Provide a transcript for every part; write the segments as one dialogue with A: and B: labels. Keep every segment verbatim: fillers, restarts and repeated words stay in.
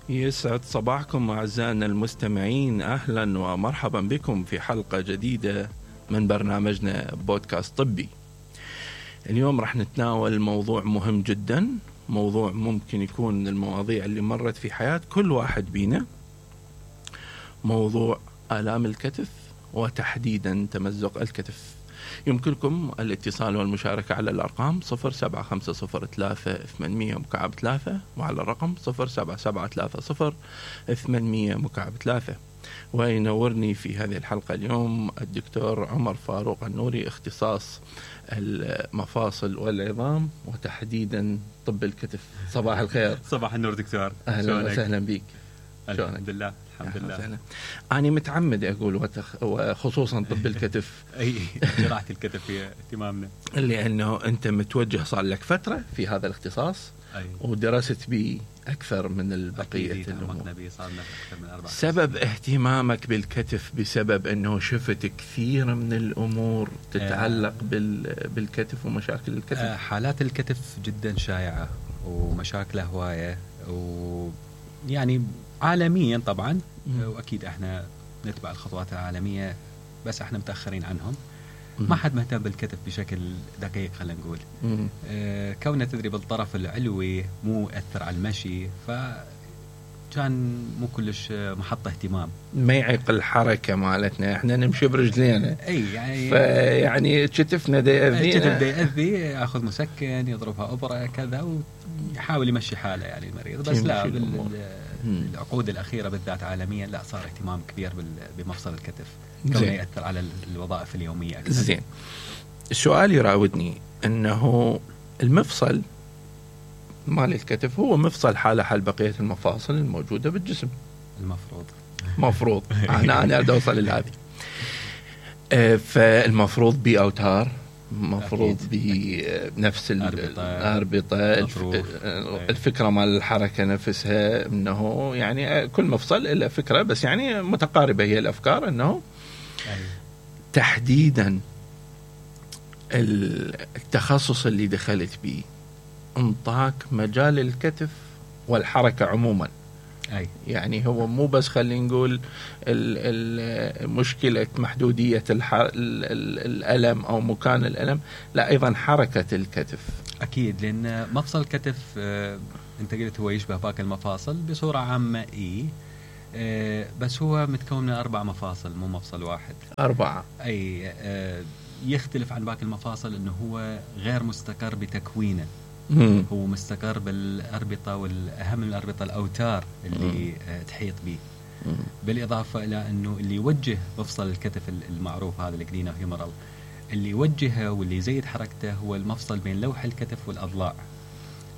A: يسعد صباحكم أعزائنا المستمعين، أهلا ومرحبا بكم في حلقة جديدة من برنامجنا بودكاست طبي. اليوم راح نتناول موضوع مهم جدا، موضوع ممكن يكون من المواضيع اللي مرت في حياة كل واحد بينا، موضوع آلام الكتف وتحديدا تمزق الكتف. يمكنكم الاتصال والمشاركة على الأرقام صفر سبعة خمسة صفر ثلاثة ثمانمية مكعب ثلاثة وعلى الرقم صفر سبعة سبعة ثلاثة صفر ثمانمية مكعب ثلاثة. وينورني في هذه الحلقة اليوم الدكتور عمر فاروق النوري، اختصاص المفاصل والعظام وتحديدا طب الكتف. صباح الخير.
B: صباح النور دكتور،
A: أهلا وسهلا بك.
B: الحمد لله الحمد لله.
A: أنا متعمد أقول وتخ... وخصوصا طب الكتف
B: أي جراحة الكتف هي اهتمامنا،
A: لأنه أنت متوجه صار لك فترة في هذا الاختصاص. أي. ودرست به أكثر من البقية الأمور. سبب اهتمامك بالكتف بسبب أنه شفت كثير من الأمور تتعلق بال... بالكتف ومشاكل الكتف.
B: حالات الكتف جدا شائعة ومشاكل هواية، ويعني عالميا طبعا، واكيد احنا نتبع الخطوات العالميه، بس احنا متاخرين عنهم. ما حد مهتم بالكتف بشكل دقيق، خلينا نقول. اه كونه تدري بالطرف العلوي مو ياثر على المشي، فكان مو كلش محط اهتمام.
A: ما يعيق الحركه مالتنا، احنا نمشي برجلينا.
B: اي يعني
A: فيعني كتفنا دا يأذينا،
B: كتف دا يأذي، ياخذ مسكن، يضربها ابره كذا، ويحاول يمشي حاله يعني المريض. بس لا، العقود الأخيرة بالذات عالميا لا، صار اهتمام كبير بمفصل الكتف، كونه يأثر على الوظائف اليومية أكثر.
A: زين، السؤال يراودني أنه المفصل مال الكتف هو مفصل حالة حال بقية المفاصل الموجودة بالجسم.
B: المفروض
A: مفروض أنا أنا أريد أوصل لهذه. فالمفروض بأوتار، مفروض بنفس الأربطة. الفكرة مال الحركة نفسها أنه يعني كل مفصل إلا فكرة، بس يعني متقاربة هي الأفكار. أنه تحديدا التخصص اللي دخلت به انطاك مجال الكتف والحركة عموما. أي. يعني هو مو بس خلينا نقول مشكلة محدودية الألم أو مكان الألم، لا أيضا حركة الكتف.
B: أكيد، لأن مفصل الكتف آه أنت قلت هو يشبه باقي المفاصل بصورة عامة. إيه آه بس هو متكون من أربع مفاصل، مو مفصل واحد.
A: أربعة.
B: أي آه يختلف عن باقي المفاصل أنه هو غير مستقر بتكوينه. مم. هو مستقر بالأربطة، والأهم من الأربطة الأوتار اللي مم. تحيط به. مم. بالإضافة إلى أنه اللي يوجه مفصل الكتف المعروف هذا الجلينا هيومرال، اللي يوجهه واللي يزيد حركته هو المفصل بين لوح الكتف والأضلاع.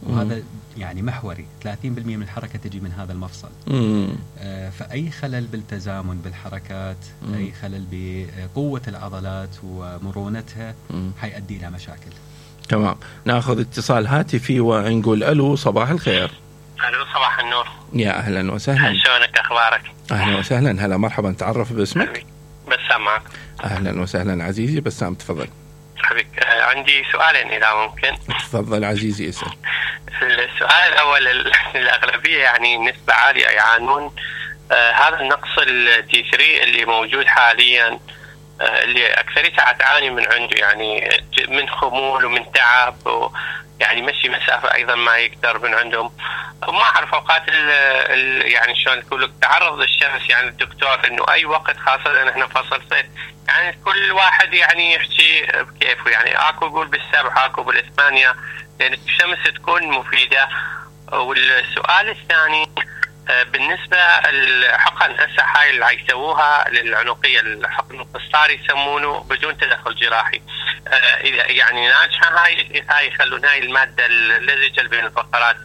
B: وهذا مم. يعني محوري، ثلاثين بالمئة من الحركة تجي من هذا المفصل. آه فأي خلل بالتزامن بالحركات، مم. أي خلل بقوة العضلات ومرونتها حيؤدي إلى مشاكل.
A: تمام، ناخذ اتصال هاتفي ونقول الو. صباح الخير.
C: الو صباح النور.
A: يا اهلا وسهلا.
C: شلونك، اخبارك؟
A: اهلا وسهلا، هلا مرحبا. تعرف باسمك؟
C: بسام معك.
A: اهلا وسهلا عزيزي بسام، تفضل.
C: حبيبك، عندي سؤالين اذا ممكن.
A: تفضل عزيزي اسال.
C: السؤال الاول، الاغلبيه يعني نسبه عاليه يعانون آه هذا النقص الدي ثلاثة اللي موجود حاليا، اللي أكثريتها تعاني من عنده، يعني من خمول ومن تعب، ويعني مشي مسافة أيضا ما يقدر من عندهم. وما أعرف أوقات ال ال يعني شلون تقول لك تعرض للشمس، يعني الدكتور إنه أي وقت، خاصة إن إحنا فصل صيف، يعني كل واحد يعني يحكي بكيفه، يعني أكو يقول بالسبعة أكو بالثمانية، لأن الشمس تكون مفيدة. والسؤال الثاني بالنسبة الحقن هسه هاي اللي يسووها للعنقية، الحقن القسطري يسمونه بدون تدخل جراحي، إذا يعني ناجحة هاي هاي يخلون هاي المادة اللزجة بين الفقرات،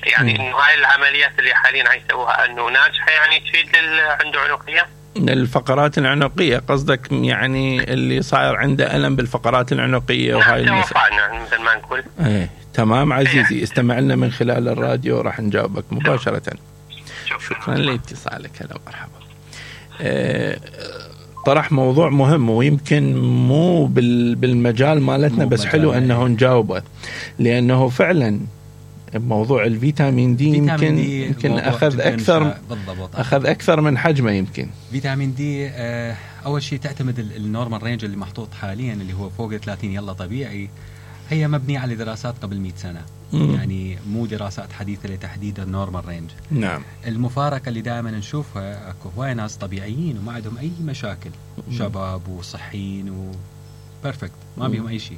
C: يعني إنه هاي العمليات اللي حاليا يسووها إنه ناجحة، يعني تفيد اللي عنده عنقية.
A: الفقرات العنقية قصدك، يعني اللي صاير عنده ألم بالفقرات العنقية وهاي
C: المسألة. نعم مثل ما نقول.
A: ايه تمام عزيزي، استمع لنا من خلال الراديو راح نجاوبك مباشرة. شكرا لاتصالك، هلا مرحبا. اه طرح موضوع مهم ويمكن مو بالمجال مالتنا، بس حلو انه نجاوبه، لانه فعلا موضوع الفيتامين دي يمكن دي يمكن اخذ اكثر
B: بالضبط
A: اخذ اكثر من حجمه. يمكن
B: فيتامين دي آه اول شيء تعتمد النورمال رينج اللي محطوط حاليا اللي هو فوق ثلاثين يلا طبيعي، هي مبنيه على دراسات قبل مئة سنه. مم. يعني مو دراسات حديثه لتحديد النورمال رينج.
A: نعم.
B: المفارقه اللي دائما نشوفها اكو هواي ناس طبيعيين وما عندهم اي مشاكل، مم. شباب وصحيين وبرفكت ما بيهم اي شيء،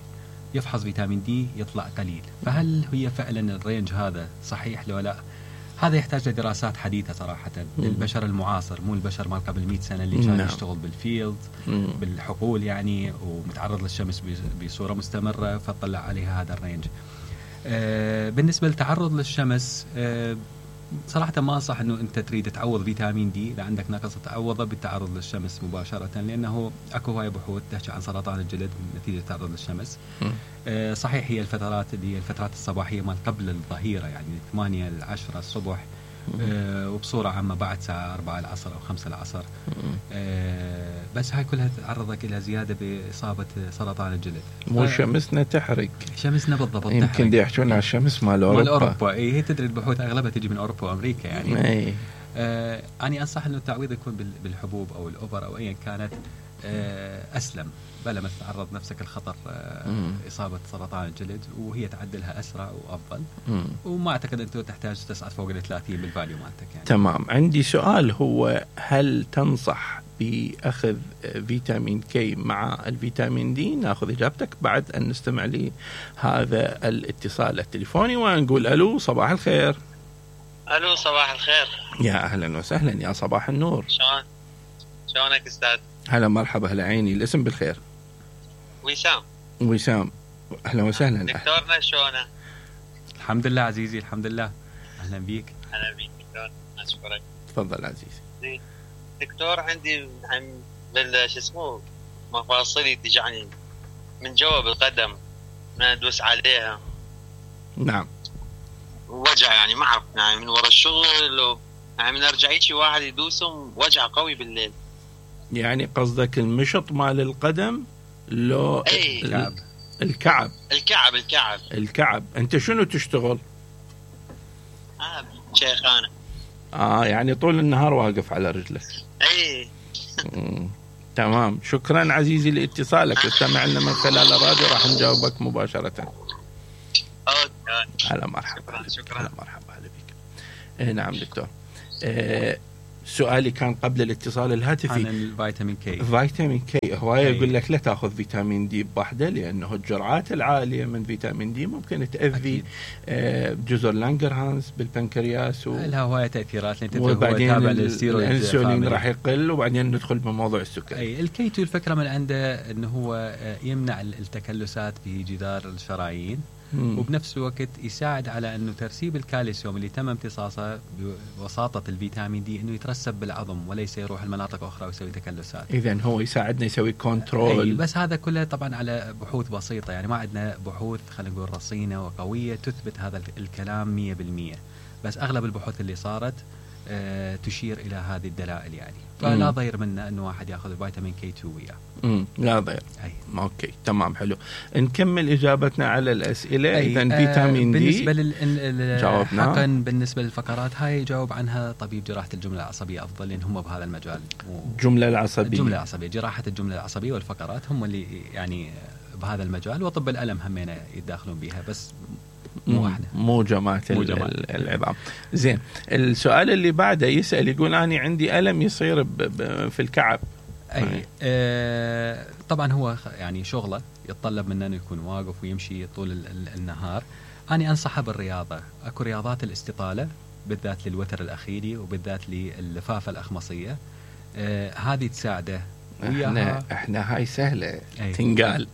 B: يفحص فيتامين دي يطلع قليل. فهل هي فعلا الرينج هذا صحيح لو لا؟ هذا يحتاج لدراسات حديثة صراحة للبشر المعاصر، مو البشر مال قبل مئة سنة اللي كان يشتغل بالفيلد بالحقول يعني ومتعرض للشمس بصورة مستمرة فطلع عليها هذا الرينج. آه بالنسبة للتعرض للشمس آه صراحة ما أنصح أنه أنت تريد تعوض فيتامين دي إذا عندك نقص تعوضه بالتعرض للشمس مباشرة، لأنه أكو هواي بحوث تحكي عن سرطان الجلد نتيجة التعرض للشمس. آه صحيح هي الفترات اللي هي الفترات الصباحية مال قبل الظهيرة يعني ثمانية لعشرة الصبح، آه وبصورة عامة بعد ساعة أربعة العصر أو خمسة العصر. آه بس هاي كلها تعرضك إلى زيادة بإصابة سرطان الجلد.
A: مو شمسنا تحرق.
B: شمسنا بالضبط
A: يمكن دي يحجون على الشمس مال أوروبا.
B: مال أوروبا إيه، هي تدري البحوث أغلبها تجي من أوروبا وأمريكا يعني.
A: أي.
B: آه أنا أنصح إنه التعويض يكون بالحبوب أو الأوبر أو أيا كانت آه أسلم، بلا ما تتعرض نفسك الخطر آه إصابة سرطان الجلد، وهي تعدلها أسرع وأفضل. مم. وما أعتقد أنت تحتاج تصعد فوق الثلاثين بالفاليو مالتك يعني.
A: تمام. عندي سؤال، هو هل تنصح بأخذ فيتامين كي مع الفيتامين دي؟ ناخذ إجابتك بعد أن نستمع لهذا الاتصال التليفوني ونقول ألو صباح الخير.
C: ألو صباح الخير.
A: يا أهلا وسهلا، يا صباح النور.
C: شلون شلونك أستاذ؟
A: هلا مرحبا، هلا عيني. الاسم بالخير.
C: وسام.
A: وسام اهلا وسهلا.
C: دكتورنا شلونه؟
B: الحمد لله عزيزي الحمد لله. اهلا بيك.
C: اهلا بيك دكتور، اشكرك.
A: تفضل عزيزي.
C: دكتور عندي عن بال شو اسمه مفاصلي تجعني من جوا بالقدم ما ادوس عليها.
A: نعم.
C: وجع يعني ما اعرف يعني من ورا الشغل و... يعني من ارجع شي واحد يدوسهم وجع قوي بالليل.
A: يعني قصدك المشط مال القدم لو
C: ايه
A: الكعب الكعب
C: الكعب الكعب
A: الكعب انت شنو تشتغل؟
C: اه شيخانه.
A: اه يعني طول النهار واقف على رجلك.
C: ايه.
A: تمام، شكرا عزيزي لاتصالك. استمع لنا من خلال الراديو راح نجاوبك مباشرة.
C: اوكي.
A: هلا مرحبا.
C: شكرا.
A: هلا مرحبا، هلا بك. إيه نعم دكتور. إيه سؤالي كان قبل الاتصال الهاتفي
B: عن الفيتامين كي.
A: فيتامين كي هواية يقول لك لا تأخذ فيتامين دي بوحدة، لأنه الجرعات العالية من فيتامين دي ممكن تأذي آه جزر لانجرهانز بالبنكرياس و...
B: لها هواية تأثيرات،
A: وبعدين الانسولين راح يقل وبعدين ندخل بموضوع السكر.
B: أي الكي تو الفكرة من عنده أنه هو يمنع التكلسات بجدار الشرايين، مم. وبنفس الوقت يساعد على أنه ترسيب الكالسيوم اللي تم امتصاصه بوساطة الفيتامين دي أنه يترسب بالعظم وليس يروح المناطق أخرى ويسوي تكلسات.
A: إذن هو يساعدنا يسوي كنترول.
B: بس هذا كله طبعا على بحوث بسيطة، يعني ما عندنا بحوث خلينا نقول رصينة وقوية تثبت هذا الكلام مية بالمية، بس أغلب البحوث اللي صارت أه تشير إلى هذه الدلائل يعني. فلا ضير منه أنه واحد يأخذ الفيتامين كي تو وياه.
A: امم لا ضير.
B: أي.
A: اوكي تمام حلو. نكمل اجابتنا على الاسئله. اذا فيتامين
B: آه
A: دي
B: بالنسبه لل
A: جاوبنا.
B: حقا بالنسبه للفقرات هاي يجاوب عنها طبيب جراحه الجمله العصبيه افضل، لان هم بهذا المجال.
A: الجمله العصبيه
B: الجمله العصبيه جراحه الجمله العصبيه والفقرات هم اللي يعني بهذا المجال، وطب الالم همينه يتداخلون بها، بس مو احنا
A: مو جماعه العظام. زين، السؤال اللي بعده يسال يقول اني عندي الم يصير في الكعب.
B: اي آه طبعا هو يعني شغله يتطلب منه انه يكون واقف ويمشي طول ال ال النهار. انا انصحه بالرياضه، اكو رياضات الاستطاله بالذات للوتر الاخيري وبالذات لللفافه الاخمصيه، آه هذه تساعده.
A: احنا احنا هاي سهله أي. تنقال.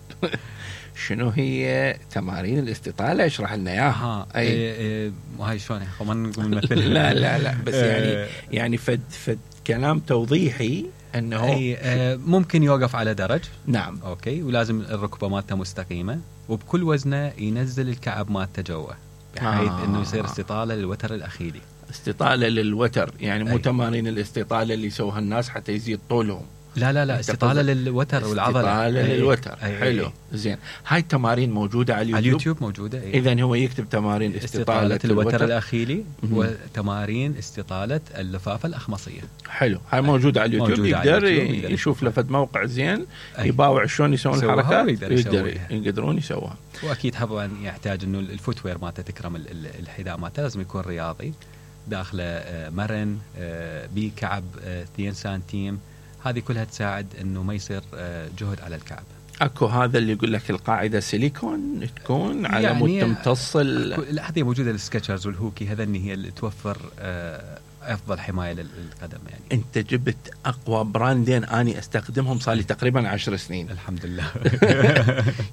A: شنو هي تمارين الاستطاله؟ اشرح لنا اياها.
B: اي اي وهاي شلون ما نقول نمثل.
A: لا لا لا بس يعني يعني فد فد كلام توضيحي انه
B: أي آه ممكن يوقف على درج.
A: نعم.
B: اوكي، ولازم الركبه مالته مستقيمه، وبكل وزنه ينزل الكعب مالته جوا بحيث آه. انه يصير استطاله للوتر الاخيري.
A: استطاله للوتر يعني مو تمارين الاستطاله اللي يسووها الناس حتى يزيد طولهم.
B: لا لا لا استطالة للوتر والعضلة.
A: استطالة للوتر. أي حلو. أي. زين هاي التمارين موجودة على اليوتيوب.
B: على اليوتيوب موجودة. أي.
A: إذن هو يكتب تمارين استطالة,
B: استطالة الوتر,
A: الوتر
B: الأخيلي وتمارين استطالة اللفافة الأخمصية.
A: حلو. هاي موجودة على اليوتيوب. يقدر يشوف لفت موقع زين يباوع شلون يسوون الحركات يقدر يقدرون يسووها.
B: وأكيد طبعا يحتاج إنه الفوتوير مالته تكرم الحذاء مالته لازم يكون رياضي داخله مرن بكعب اثنين سنتيم. هذه كلها تساعد انه ما يصير جهد على الكعب.
A: اكو هذا اللي يقول لك القاعده سيليكون تكون على
B: يعني
A: مود تمتص ال...
B: هذه موجوده السكتشرز والهوكي هذا هي اللي توفر افضل حمايه للقدم. يعني
A: انت جبت اقوى براندين اني استخدمهم صار لي تقريبا عشر سنين
B: الحمد لله.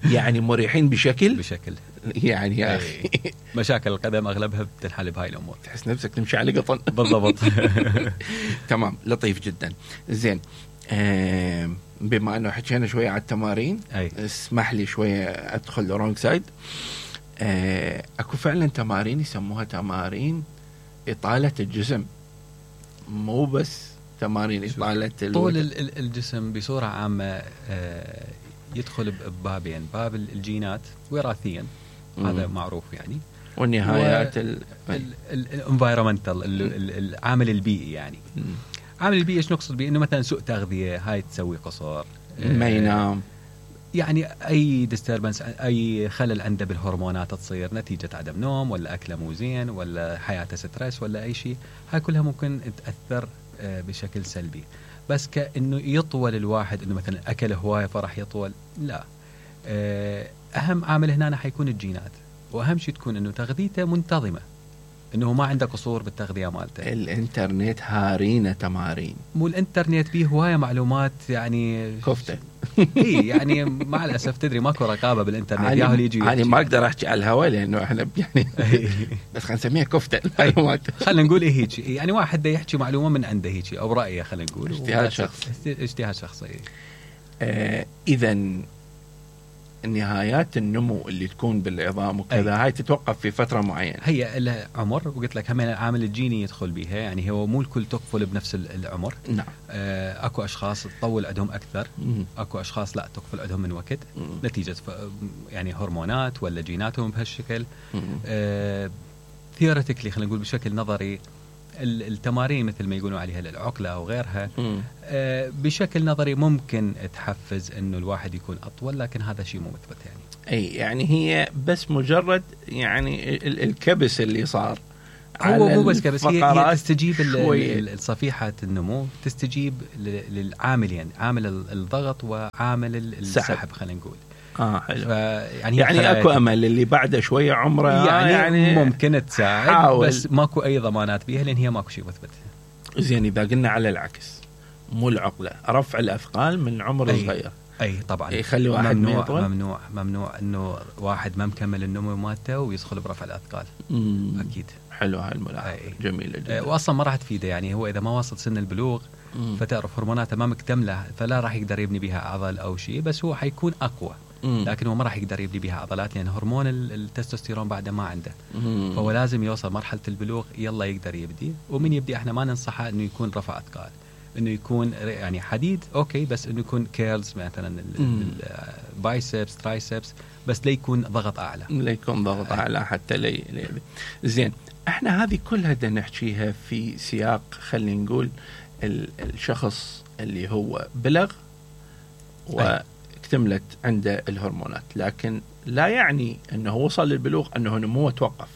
A: يعني مريحين بشكل
B: بشكل
A: يعني يا اخي
B: مشاكل القدم اغلبها بتنحل بهاي الامور.
A: تحس نفسك تمشي على قطن.
B: بالضبط.
A: تمام لطيف جدا. زين آه بما انه حكينا شويه على التمارين
B: أي.
A: اسمح لي شويه ادخل رونج سايد. آه اكو فعلا تمارين يسموها تمارين اطاله الجسم مو بس تمارين إطالة
B: طول الجسم بصورة عامة يدخل ببابين باب الجينات وراثيا هذا معروف يعني
A: والنهايات
B: الانفايرمنتال العامل البيئي. يعني مم. عامل البيئي ايش نقصد بيه؟ انه مثلا سوء تغذية هاي تسوي قصور
A: ما ينام
B: يعني اي ديستربنس اي خلل عنده بالهرمونات تصير نتيجة عدم نوم ولا اكله مو زين ولا حياته ستريس ولا اي شيء. هاي كلها ممكن تأثر بشكل سلبي. بس كأنه يطول الواحد انه مثلا اكل هواية فرح يطول لا. اهم عامل هنا حيكون الجينات واهم شيء تكون انه تغذيته منتظمة انه ما عنده قصور بالتغذية مالته.
A: الانترنت هارينا تمارين
B: مو الانترنت بيه هواية معلومات يعني
A: كفتة.
B: اي يعني مع الاسف تدري ماكو رقابه بالانترنت ياهو يجي
A: يعني ما اقدر احكي على الهواء لانه احنا يعني بس خلينا نسميها كفته المعلومات.
B: خلينا نقول ايه هيك يعني واحد ده يحكي معلومه من عنده هيك او برايه خلينا نقول
A: اجتهاد شخصي.
B: اجتهاد شخصي.
A: آه اذا نهايات النمو اللي تكون بالعظام وكذا هاي تتوقف في فتره معينه.
B: هي لها عمر وقلت لك هم العامل الجيني يدخل بها يعني هو مو الكل تقفل بنفس العمر.
A: نعم.
B: آه اكو اشخاص تطول عندهم اكثر مم. اكو اشخاص لا تقفل عندهم من وقت مم. نتيجه يعني هرمونات ولا جيناتهم بهالشكل. آه ثيوريتيكلي خلينا نقول بشكل نظري التمارين مثل ما يقولون عليها العقله او غيرها آه بشكل نظري ممكن تحفز انه الواحد يكون اطول لكن هذا شيء مو مثبت يعني.
A: اي يعني هي بس مجرد يعني الكبس اللي صار
B: هو مو بس كبس هي, هي تستجيب الصفيحة النمو تستجيب للعاملين عامل الضغط وعامل السحب خلينا نقول.
A: اه حلو. يعني يعني اكو امل اللي بعده شويه عمره
B: يعني, يعني ممكن تساعد حاول. بس ماكو اي ضمانات بيها لان هي ماكو شيء مثبت.
A: زين اذا قلنا على العكس مو العقله رفع الاثقال من عمر
B: أي
A: صغير.
B: اي طبعا
A: يخلي واحد
B: ممنوع ممنوع ممنوع انه واحد ما مكمل النمو مالته ويدخل برفع الاثقال.
A: مم.
B: اكيد.
A: حلو هاي الملاحظه جميله جدا.
B: واصلا ما راح تفيده يعني هو اذا ما وصل سن البلوغ مم. فتعرف هرموناته ما مكتمله فلا راح يقدر يبني بها عضل او شيء بس هو حيكون اقوى. مم. لكن هو ما راح يقدر يبني بها عضلات لان يعني هرمون التستوستيرون بعده ما عنده. مم. فهو لازم يوصل مرحله البلوغ يلا يقدر يبدي ومن يبدي احنا ما ننصحه انه يكون رفع اثقال انه يكون يعني حديد اوكي بس انه يكون كيرلز مثلا البايسبس ترايسبس بس لا يكون ضغط اعلى
A: لا يكون ضغط اعلى حتى لي, لي زين احنا هذه كلها بدنا نحكيها في سياق خلينا نقول الشخص اللي هو بلغ واكتملت عنده الهرمونات لكن لا يعني انه وصل للبلوغ انه نموه توقف.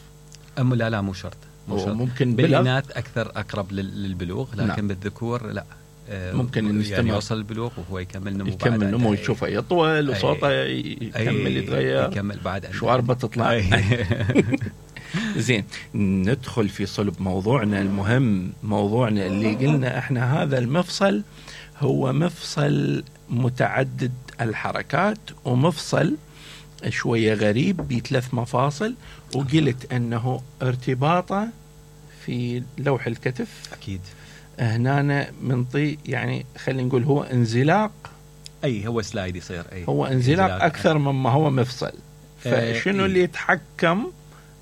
B: ام لا لا مو شرط
A: ممكن
B: بالإناث أكثر أقرب للبلوغ لكن نعم. بالذكور لا
A: ممكن إن
B: يعني يوصل البلوغ وهو يكمل نمو
A: يكمل نمو يشوفه يطول وصوته يكمل يتغير
B: يكمل بعد
A: شواربه تطلع. زين ندخل في صلب موضوعنا المهم موضوعنا اللي قلنا احنا هذا المفصل هو مفصل متعدد الحركات ومفصل شوية غريب بثلاث مفاصل وقلت أنه ارتباطه في لوح الكتف
B: أكيد
A: هنا منطي يعني خلينا نقول هو انزلاق
B: أي هو سلايد يصير أي
A: هو انزلاق, انزلاق أكثر مما هو مفصل فشنو اللي يتحكم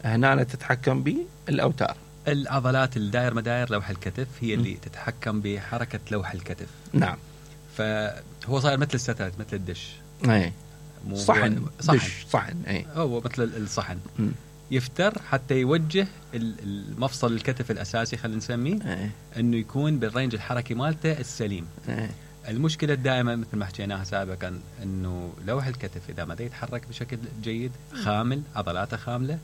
A: هنا تتحكم به الأوتار
B: العضلات الدائر مداير لوح الكتف هي اللي م. تتحكم بحركة لوح الكتف.
A: نعم
B: فهو صاير مثل الستات مثل الدش.
A: اي صحن صحن صحن اي
B: هو مثل الصحن.
A: م.
B: يفتر حتى يوجه المفصل الكتف الاساسي خلينا نسميه
A: اي
B: انه يكون بالرينج الحركي مالته السليم.
A: اي
B: المشكله الدائمه مثل ما حكيناها سابقا انه لوح الكتف اذا ما يتحرك بشكل جيد خامل عضلاته خامله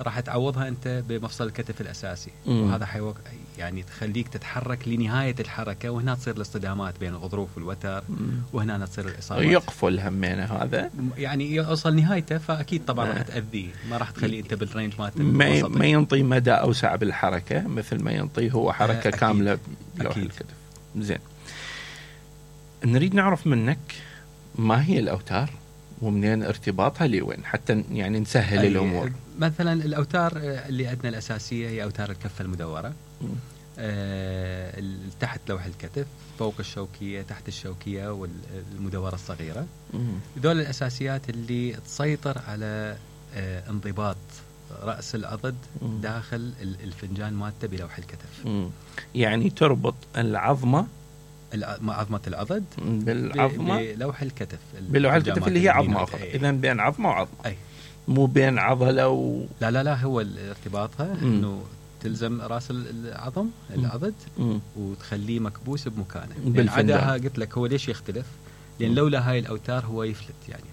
B: راح تعوضها انت بمفصل الكتف الاساسي.
A: م.
B: وهذا حيوق يعني تخليك تتحرك لنهايه الحركه وهنا تصير الاصطدامات بين الغضروف والوتر وهنا تصير الاصابات.
A: يقفل همينه هذا
B: يعني يوصل نهايته فاكيد طبعا راح تاذيه ما راح تخليه انت بالرينج مالته
A: ما, ما ينطي مدى اوسع بالحركه مثل ما ينطي هو حركه
B: أكيد.
A: كامله بلوح الكتف. زين نريد نعرف منك ما هي الأوتار ومنين ارتباطها لوين حتى يعني نسهل الأمور.
B: مثلا الأوتار اللي عندنا الأساسية هي أوتار الكفة المدورة آه تحت لوح الكتف فوق الشوكية تحت الشوكية والمدورة الصغيرة. دول الأساسيات اللي تسيطر على آه انضباط رأس العضد داخل الفنجان مالته بلوح الكتف.
A: يعني تربط العظمة
B: عظمة العضد
A: بالعظمة
B: بلوح الكتف
A: بلوح الكتف اللي هي عظمة فقط. إذا بين عظمة وعظمة
B: أي.
A: مو بين عضلة و...
B: لا لا لا هو ارتباطها إنه تلزم رأس العظم العضد
A: مم.
B: وتخليه مكبوس بمكانه.
A: يعني
B: عداها قلت لك هو ليش يختلف لأن لولا هاي الأوتار هو يفلت يعني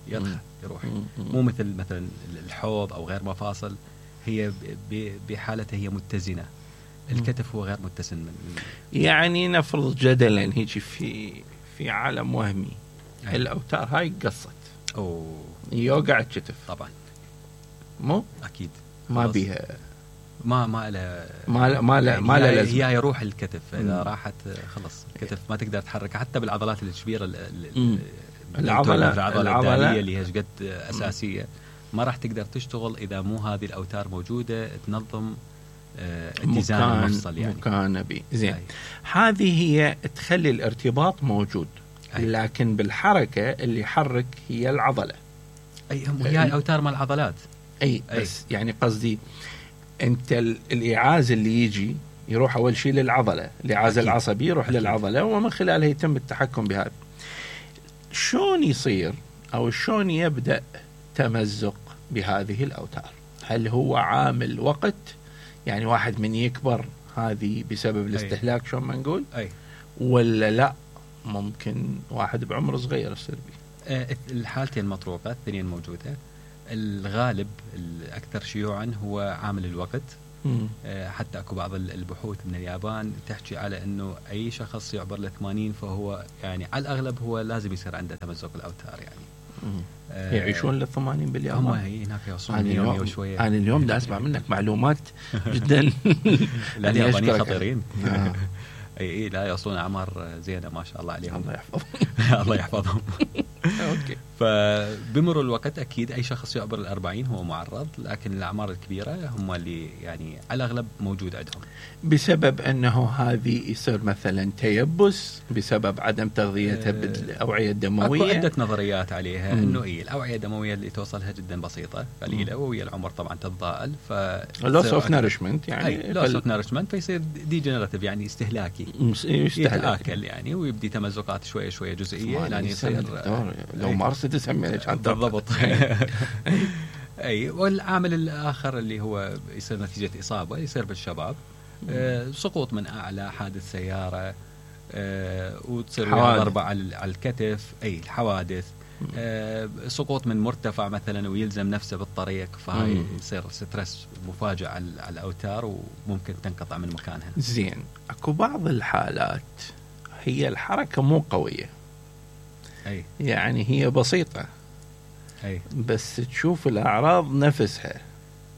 B: يرخى يروح مم. مو مثل مثلا الحوض أو غير مفاصل هي بحالته هي متزنة. الكتف هو غير متسن من
A: يعني نفرض جدلا هيك في في عالم وهمي
B: أي.
A: الأوتار هاي قصت
B: أو
A: يوقع الكتف
B: طبعا
A: مو
B: أكيد
A: ما بيها
B: ما ما له
A: ما ما له
B: يعني
A: ما له لازمة.
B: هي يروح الكتف إذا راحت خلص الكتف ما تقدر تحرك حتى بالعضلات الكبيرة
A: العضلة
B: العضلة الدالية اللي هي قد أساسية ما راح تقدر تشتغل إذا مو هذه الأوتار موجودة تنظم اتزان المفصل يعني
A: مكان بي زين. هذه هي تخلي الارتباط موجود. أي. لكن بالحركة اللي يحرك هي العضلة.
B: أي هي الأوتار مال العضلات.
A: أي, أي بس يعني قصدي أنت الإعاز اللي يجي يروح أول شيء للعضلة الإعاز العصبي يروح أكيد. للعضلة ومن خلالها يتم التحكم بهذا. شلون يصير أو شلون يبدأ تمزق بهذه الأوتار؟ هل هو عامل وقت يعني واحد من يكبر هذه بسبب الاستهلاك شو ما نقول
B: أي.
A: ولا لا ممكن واحد بعمر صغير يصير به؟
B: أه الحالتين مطروقة الاثنين موجودة. الغالب الأكثر شيوعا هو عامل الوقت. أه حتى أكو بعض البحوث من اليابان تحكي على أنه أي شخص يعبر ل ثمانين فهو يعني على الأغلب هو لازم يصير عنده تمزق الأوتار يعني.
A: أه يعيشون للثمانين باليابان.
B: هم هي هناك يوصلون يومي وشوية.
A: أنا اليوم دا أسمع منك معلومات جدا.
B: لا اليابانيين خطيرين. اي اي لا يوصلون اعمار زينه ما شاء الله عليهم.
A: الله يحفظهم.
B: الله يحفظهم.
A: اوكي.
B: فبمر الوقت اكيد اي شخص يعبر الأربعين هو معرض لكن الاعمار الكبيره هم اللي يعني على الاغلب موجود عندهم
A: بسبب انه هذه يصير مثلا تيبس بسبب عدم تغذيتها بالاوعيه الدمويه.
B: اكو عده نظريات عليها انه اي الاوعيه الدمويه اللي توصلها جدا بسيطه قليله وهي العمر طبعا تتضاءل ف
A: لوس اوف نارشمنت يعني
B: لوس اوف نارشمنت فيصير ديجنراتيف يعني استهلاكي يتآكل يعني ويبدي تمزقات شويه شويه جزئيه يعني يصير
A: لو مارست تسمي
B: بالضبط. اي والعامل الاخر اللي هو يصير نتيجه اصابه يصير بالشباب آه سقوط من اعلى حادث سياره آه وتصير ضربه على الكتف اي الحوادث آه سقوط من مرتفع مثلا ويلزم نفسه بالطريق فهاي يصير ستريس مفاجئ على الاوتار وممكن تنقطع من مكانها.
A: زين اكو بعض الحالات هي الحركه مو قويه
B: أي.
A: يعني هي بسيطة
B: أي.
A: بس تشوف الأعراض نفسها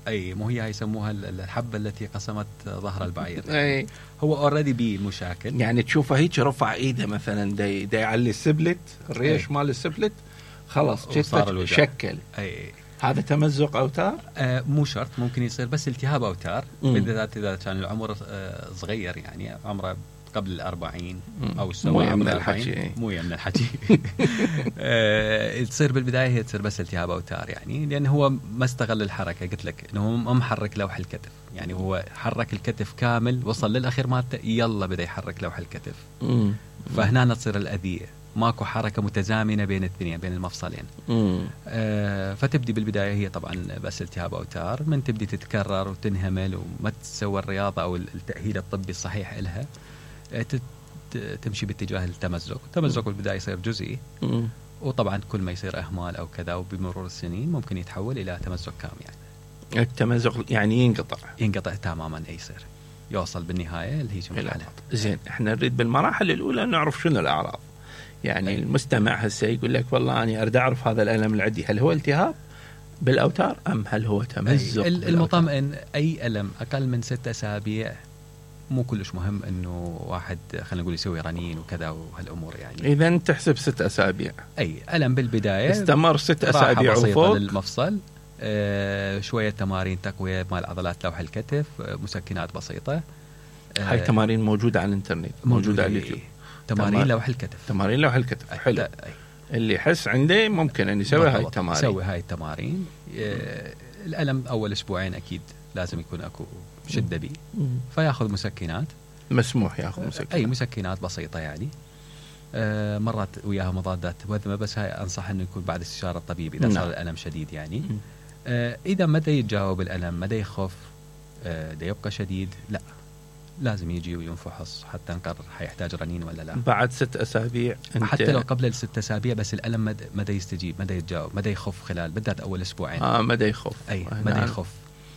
B: أي مو هي يسموها الحبة التي قسمت ظهر البعير
A: أي.
B: هو أوريدي بيه مشاكل
A: يعني تشوفه هيك رفع إيده مثلا داي داي على السبلت الريش مال السبلت خلاص شكل
B: أي.
A: هذا تمزق أوتار
B: آه مو شرط ممكن يصير بس التهاب أوتار بالذات إذا كان العمر آه صغير يعني عمره قبل الأربعين أو
A: مو من الحكي
B: مو من الحكي أه تصير بالبداية هي تصير بس التهاب أوتار يعني لأن هو ما استغل الحركة قلت لك إنه هو ما محرك لوح الكتف يعني هو حرك الكتف كامل وصل للأخير مالته يلا بدأ يحرك لوح الكتف فهنا تصير الأذية، ماكو حركة متزامنة بين الاثنين بين المفصلين. آه فتبدي بالبداية هي طبعا بس التهاب أوتار، من تبدي تتكرر وتنهمل وما تسوى الرياضة أو التأهيل الطبي الصحيح إلها، آه تمشي باتجاه التمزق. التمزق بالبداية يصير جزئي، مم. وطبعا كل ما يصير أهمال أو كذا وبمرور السنين ممكن يتحول إلى تمزق كامل. يعني
A: التمزق يعني ينقطع
B: ينقطع تماما، أي يصير يوصل بالنهاية اللي هي مرحلة.
A: زين، احنا نريد بالمراحل الأولى نعرف شنو الأعراض. يعني أي. المستمع هسه يقول لك والله أنا أريد أعرف هذا الألم اللي عندي هل هو التهاب بالأوتار أم هل هو تمزق؟
B: المطمئن أي ألم أقل من ستة أسابيع مو كلش مهم إنه واحد خلينا نقول يسوي رنين وكذا وهالأمور. يعني
A: إذا تحسب ست أسابيع
B: أي ألم بالبداية
A: استمر ست أسابيع وفوق
B: للمفصل، آه شوية تمارين تقوية مال عضلات لوح الكتف، آه مسكنات بسيطة.
A: آه هاي تمارين موجودة على الانترنت، موجودة على اليوتيوب.
B: تمارين تمار... لوح الكتف
A: تمارين لوح الكتف حلو. أي. اللي يحس عنده ممكن أن يسوي هاي التمارين
B: يسوي هاي التمارين. آه الألم أول أسبوعين أكيد لازم يكون أكو شدة بي، فياخذ مسكنات،
A: مسموح ياخذ مسكنات،
B: أي مسكنات بسيطة يعني. آه مرات وياها مضادات وذمة، بس هاي أنصح أنه يكون بعد استشارة الطبيب إذا صار الألم شديد. يعني آه إذا مدى يتجاوب الألم، مدى يخف، آه دا يبقى شديد، لا لازم يجي وينفحص حتى نقرر حيحتاج رنين ولا لا.
A: بعد ست أسابيع
B: حتى لو قبل الست أسابيع، بس الألم مدى يستجيب، مدى يتجاوب، مدى يخف خلال بالذات أول أسبوعين.
A: آه مدى يخف،
B: أي مدى يخف.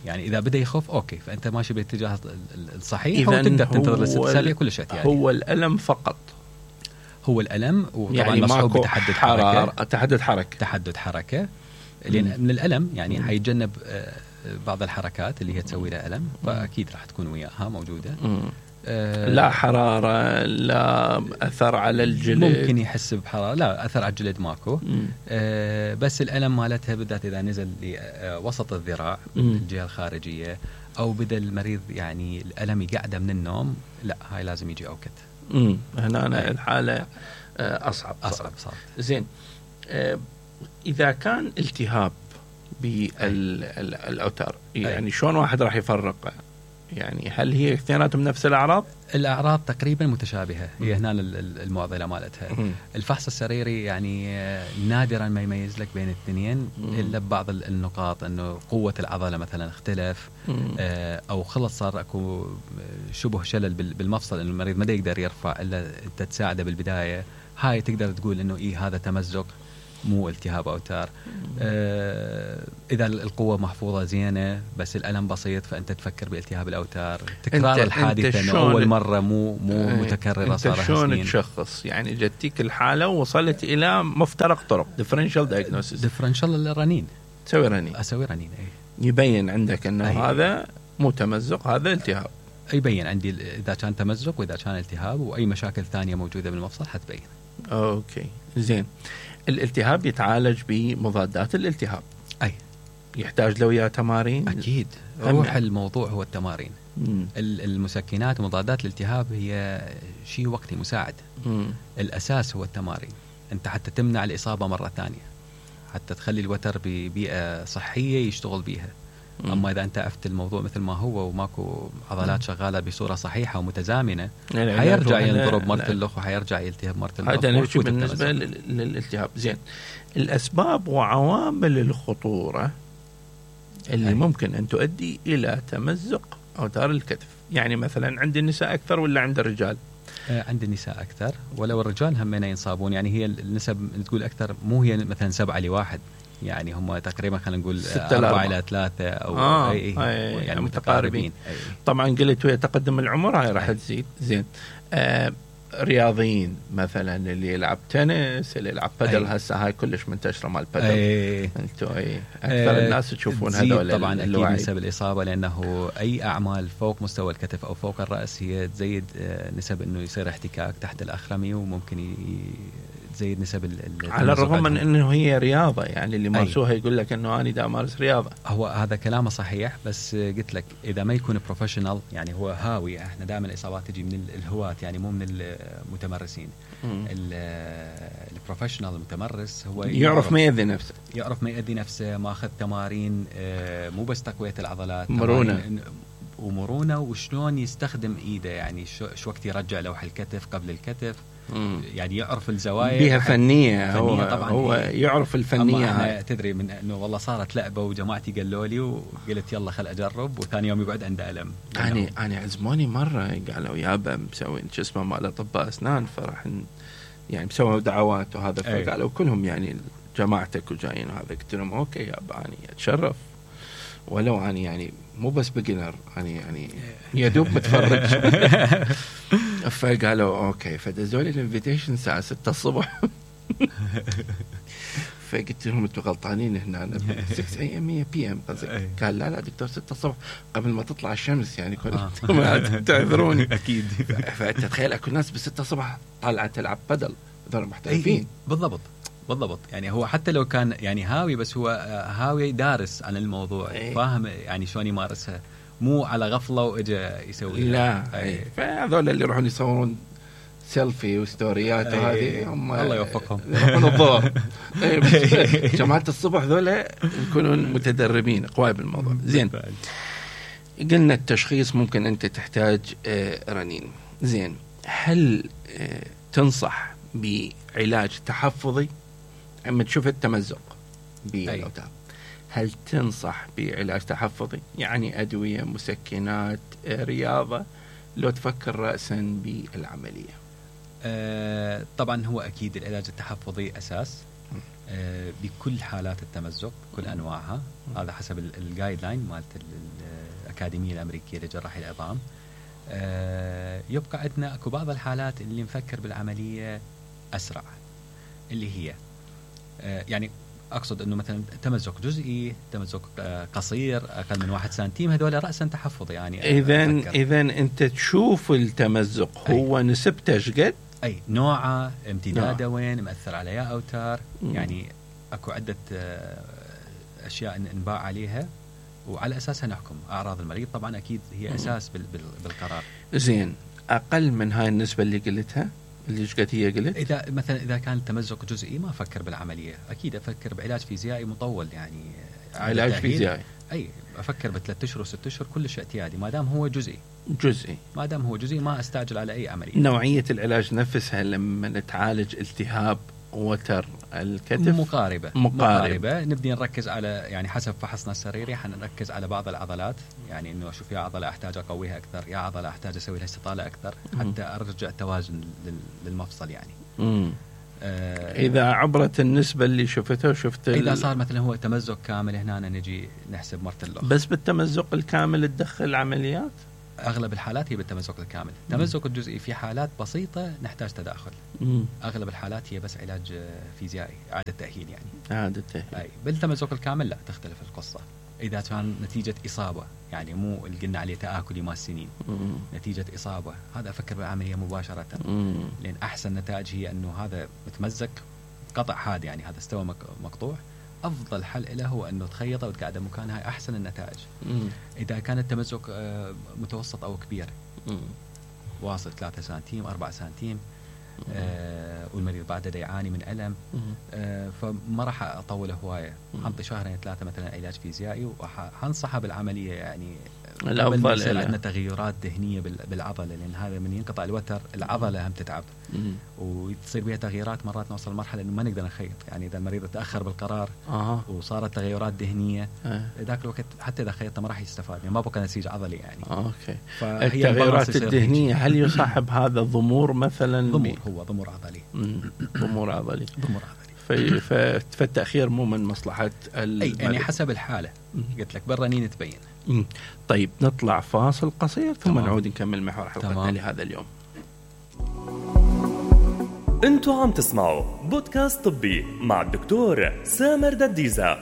B: يعني إذا بدأ يخف أوكي، فأنت ماشي بالاتجاه الصحيح وتقدر تنتظر لست أسابيع كل شيء. يعني
A: هو الألم فقط،
B: هو الألم، وطبعا
A: يعني
B: مصحوب بتحدد حركة.
A: تحدد حركة
B: تحدد حركة لأن من الألم يعني حيتجنب بعض الحركات اللي هي تسوي له ألم، فأكيد راح تكون وياها موجودة.
A: آه لا حرارة، لا أثر على الجلد،
B: ممكن يحس بحرارة، لا أثر على الجلد ماكو. آه بس الألم مالتها بالذات إذا نزل لوسط الذراع الجهة الخارجية، أو بدأ المريض يعني الألم يقعده من النوم، لا هاي لازم يجي أوكت.
A: امم هنا أنا الحالة أصعب
B: أصعب صار.
A: زين، آه إذا كان التهاب بالأوتار يعني شلون واحد راح يفرق؟ يعني هل هي اثنيناتهم نفس الأعراض؟
B: الأعراض تقريبا متشابهة، هي هنا المعضلة مالتها. الفحص السريري يعني نادرا ما يميز لك بين الاثنين إلا ببعض النقاط، إنه قوة العضلة مثلا اختلف، أو خلص صار أكو شبه شلل بالمفصل، إنه المريض ما يقدر يرفع إلا أنت تساعده بالبداية. هاي تقدر تقول إنه إيه هذا تمزق مو التهاب أوتار. آه إذا القوة محفوظة زينة بس الألم بسيط، فأنت تفكر بالتهاب الأوتار. تكرار الحادثة إنه أول مرة مو مو اه متكررة صار سنين.
A: شلون تشخص؟ يعني جتك الحالة ووصلت إلى مفترق طرق differential diagnosis.
B: differential الرنين،
A: تسوي رنين،
B: أسوي رنين أي.
A: يبين عندك إنه أي. هذا مو تمزق، هذا التهاب.
B: يبين عندي إذا كان تمزق وإذا كان التهاب، وأي مشاكل ثانية موجودة بالمفصل حتبين.
A: أوكي زين. الالتهاب يتعالج بمضادات الالتهاب،
B: أي
A: يحتاج له وياه تمارين؟
B: أكيد، روح الموضوع هو التمارين. مم. المسكنات ومضادات الالتهاب هي شيء وقتي مساعد. مم. الأساس هو التمارين، أنت حتى تمنع الإصابة مرة ثانية، حتى تخلي الوتر ببيئة صحية يشتغل بيها. مم. أما إذا أنت عفت الموضوع مثل ما هو وماكو عضلات شغالة بصورة صحيحة ومتزامنة، حيرجع ينضرب مرة الأخ وحيرجع يلتهب مرة الأخ.
A: هذا نحكي بالنسبة للالتهاب. زين، الأسباب وعوامل الخطورة اللي أي. ممكن أن تؤدي إلى تمزق أوتار الكتف. يعني مثلا عند النساء أكثر ولا عند الرجال؟
B: آه عند النساء أكثر، ولو الرجال همين ينصابون. يعني هي النسب تقول أكثر، مو هي مثلا سبعة لواحد، يعني هم تقريبا خلينا نقول أربعة إلى ثلاثة أو
A: آه
B: أي أي
A: يعني,
B: يعني
A: متقاربين. أي. طبعا قلت ويا تقدم العمر هاي راح تزيد. زين، آه رياضيين مثلا اللي يلعب تنس، اللي يلعب بادل، هسه هاي كلش منتشرة مال بادل. انتوا اي اكثر أي. الناس تشوفون هذول
B: طبعا اكيد نسب الإصابة، لأنه أي أعمال فوق مستوى الكتف أو فوق الرأس هي تزيد نسب إنه يصير احتكاك تحت الأخرمي، وممكن ي... تزيد نسب
A: على الرغم من انه هي رياضه. يعني اللي مارسوها يقول لك انه انا دا امارس رياضه.
B: هو هذا كلامه صحيح، بس قلت لك اذا ما يكون بروفيشنال، يعني هو هاوي. احنا دائما الاصابات تجي من الهواة، يعني مو من المتمرسين. البروفيشنال المتمرس هو
A: يعرف ما يأذي نفسه،
B: يعرف ما يأذي نفسه، ماخذ تمارين مو بس تقويه العضلات،
A: مرونه
B: ومرونه وشلون يستخدم ايده، يعني شو, شو وقت يرجع لوح الكتف قبل الكتف. مم. يعني يعرف الزوايا
A: بيها فنيه, فنية هو
B: طبعا
A: هو يعرف الفنيه
B: هاي. تدري من انه والله صارت لعبه وجماعتي قالوا لي وقلت يلا خل اجرب، وثاني يوم يقعد عنده الم.
A: انا انا عزموني مره قالوا يابا مسوين شو اسمه مال اطباء اسنان، فرح يعني مسووا دعوات وهذا، فقالوا كلهم يعني جماعتك وجايين وهذا. قلت لهم اوكي يابا اني اتشرف، ولو اني يعني مو بس بيجنر، اني يعني يدوب متفرج. فقالوا اوكي، فدزوا لي الانفيتيشن الساعه ستة الصبح. فقلت لهم انتم غلطانين هنا ستة إيه إم بي إم قصدك. قال لا لا دكتور ستة الصبح قبل ما تطلع الشمس يعني كنتم آه. تعذروني.
B: اكيد.
A: فانت تخيل اكو ناس بستة الصبح طالعه تلعب بدل، هذول محترفين.
B: بالضبط بالضبط. يعني هو حتى لو كان يعني هاوي، بس هو هاوي دارس عن الموضوع، أي. فاهم يعني شلون يمارسها، مو على غفله واجا يسوي.
A: لا فهذول اللي يروحون يصورون سيلفي وستوريات وهذه هم
B: الله يوفقهم
A: يروحون الظهر. جماعه الصبح ذولا يكونون متدربين قوي بالموضوع. زين، قلنا التشخيص ممكن انت تحتاج رنين. زين، هل تنصح بعلاج تحفظي اما تشوف التمزق بالاوتار؟ هل تنصح بعلاج تحفظي يعني ادويه، مسكنات، رياضه، لو تفكر راسا بالعمليه؟
B: آه طبعا هو اكيد العلاج التحفظي اساس آه بكل حالات التمزق كل انواعها. هذا حسب الجايد لاين مالت الاكاديميه الامريكيه لجراحه العظام. آه يبقى عندنا اكو بعض الحالات اللي نفكر بالعمليه اسرع، اللي هي آه يعني اقصد انه مثلا تمزق جزئي، تمزق آه قصير اقل من واحد سنتيم، هذول راسا تحفظ. يعني
A: اذا اذا انت تشوف التمزق هو أي. نسبته شقد؟
B: اي نوعه، امتداده وين، مأثر على يا اوتار. م. يعني اكو عده آه اشياء نباع عليها وعلى اساسها نحكم. اعراض المريض طبعا اكيد هي اساس بال بال بالقرار.
A: زين، اقل من هاي النسبه اللي قلتها اللي قد هي قلت،
B: اذا مثلا اذا كان التمزق جزئي ما افكر بالعمليه، اكيد افكر بعلاج فيزيائي مطول. يعني
A: علاج فيزيائي
B: اي افكر بثلاث اشهر وست اشهر كل شيء اعتيادي، ما دام هو جزئي.
A: جزئي
B: ما دام هو جزئي ما استعجل على اي عمليه.
A: نوعيه العلاج نفسها لما نتعالج التهاب وتر الكتف
B: مقاربة.
A: مقاربة
B: مقاربة نبدي نركز على يعني حسب فحصنا السريري حنركز على بعض العضلات، يعني انه اشوف يا عضلة احتاج اقويها اكثر، يا عضلة احتاج اسوي لها استطالة اكثر حتى ارجع التوازن للمفصل. يعني
A: آه اذا عبرت النسبة اللي شفتها وشفت
B: اذا صار مثلا هو تمزق كامل هنا نجي نحسب مرة اللغة.
A: بس بالتمزق الكامل تدخل عمليات؟
B: اغلب الحالات هي بالتمزق الكامل. التمزق الجزئي في حالات بسيطه نحتاج تداخل. مم. اغلب الحالات هي بس علاج فيزيائي، اعاده تاهيل يعني.
A: اعاده تاهيل.
B: اي بالتمزق الكامل لا، تختلف القصه. اذا كان نتيجه اصابه، يعني مو اللي قلنا عليه تاكلي مال سنين، مم. نتيجه اصابه، هذا افكر بالعمليه مباشره. مم. لان احسن نتائج هي انه هذا متمزق قطع حاد، يعني هذا استوى مقطوع، افضل حل له هو انه تخيطه وتقعده مكانها، احسن النتائج. مم. اذا كان التمزق متوسط او كبير، مم. واصل ثلاثة سنتيم أربعة سنتيم، آه والمريض بعده يعاني من الم، آه فما راح اطوله هوايه، حنطي شهرين ثلاثه مثلا علاج فيزيائي وحنصحه بالعمليه. يعني
A: الافضل
B: عندنا تغيرات دهنيه بالعضله، لان هذا من ينقطع الوتر العضله هم تتعب، مم. وتصير بها تغييرات. مرات نوصل مرحله انه ما نقدر نخيط، يعني اذا المريض تاخر بالقرار آه. وصارت تغيرات دهنيه ذاك آه. الوقت حتى اذا خيطته ما راح يستفاد، يعني ما بقى نسيج عضلي يعني.
A: آه. اوكي. التغيرات الدهنيه هل يصاحب هذا ضمور مثلا؟
B: ضمور، هو ضمور عضلي.
A: ضمور عضلي.
B: ضمور عضلي.
A: فالتاخير مو من مصلحه
B: اي يعني حسب الحاله. قلت لك بالرنين تبين.
A: مم. طيب نطلع فاصل قصير ثم تمام. نعود نكمل محور حلقتنا لهذا اليوم.
D: انتوا عم تسمعوا بودكاست طبي مع الدكتور سامر دديزة.